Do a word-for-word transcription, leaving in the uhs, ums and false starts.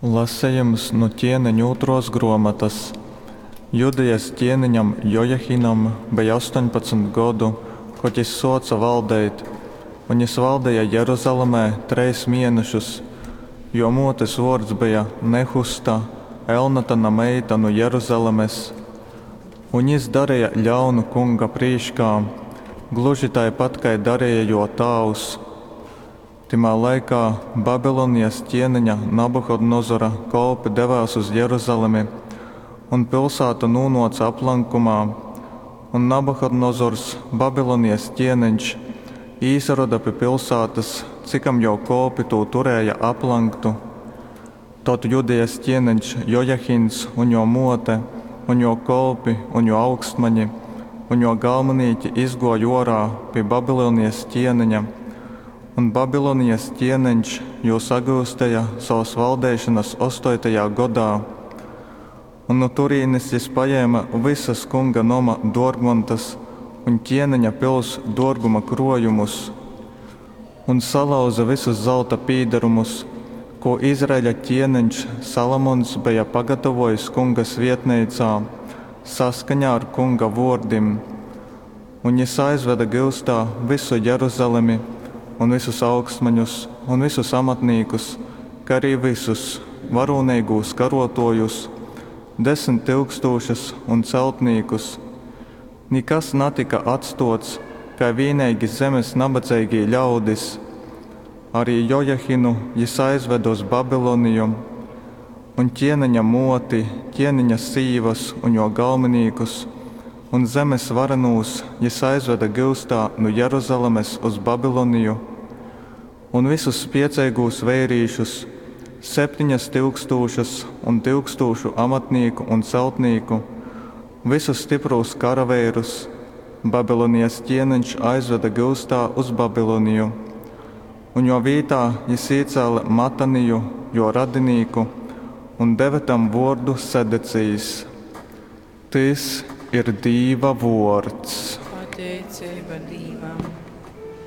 Lasejums nu Ķieneņu ūtruos gruomotys. Judejas ķieneņam Jojahinam beja ostoņpadsmit godu, kod jis suoce valdeit, un jis valdeja Jeruzalemē treis mienešus. Juo muotes vuords beja Nehusta, Elnatana meita nu Jeruzalemes. Un jis dareja ļaunu Kunga prīškā, gluži taipat kai dareja juo tāvs. Tymā laikā Babilonijas ķieneņa Nabuhodonozora kolpi devēs uz Jeruzalemi un pilsātu nūnuoce aplankumā. Un Nabuhodonozors, Babilonijas ķieneņš, īsaroda pi pilsātas, cikam juo kolpi tū turēja aplanktu. Tod Judejas ķieneņš Jojahins un juo muote, un juo kolpi, un juo augstmaņi, un juo galminīki izguoja uorā pi Babilonijas ķieneņa, un Babilonijas ķieneņš jūs sagyusteja sovas valdeišonas ostoitajā godā. Un nu turīnes jis pajēme vysas kunga noma duorgmontas un ķieneņa pils duorguma kruojumus. Un salauze vysus zalta pīdarumus, kū Izraeļa ķieneņš Salomons beja pagatavojis Kunga svietneicā, saskaņā ar Kunga vuordim. Un jis aizvede gyustā vysu Jeruzalemi un vysus augstmaņus un vysus amatnīkus, kai arī vysus varūneigūs karuotuojus, desmit tyukstūšas, un celtnīkus. Nikas natyka atstuots, kai vīneigi zemes nabadzeigī ļaudis. Arī Jojahinu jis aizvede uz Babiloniju. Un ķieneņa muoti, ķieneņa sīvas un juo galminīkus un zemes varenūs jis aizvede gyustā nu Jeruzalemes uz Babiloniju. Un vysus spieceigūs veirīšus, septiņas tyukstūšas un tyukstūšu amatnīku un celtnīku, vysus styprūs karaveirus, Babilonijas ķieneņš aizvede gyustā uz Babiloniju. Un juo vītā jis īcēle Mataniju, juo radinīku, un deve tam vuordu Sedecijs. Tys ir Dīva vuords. Pateiceiba Dīvam.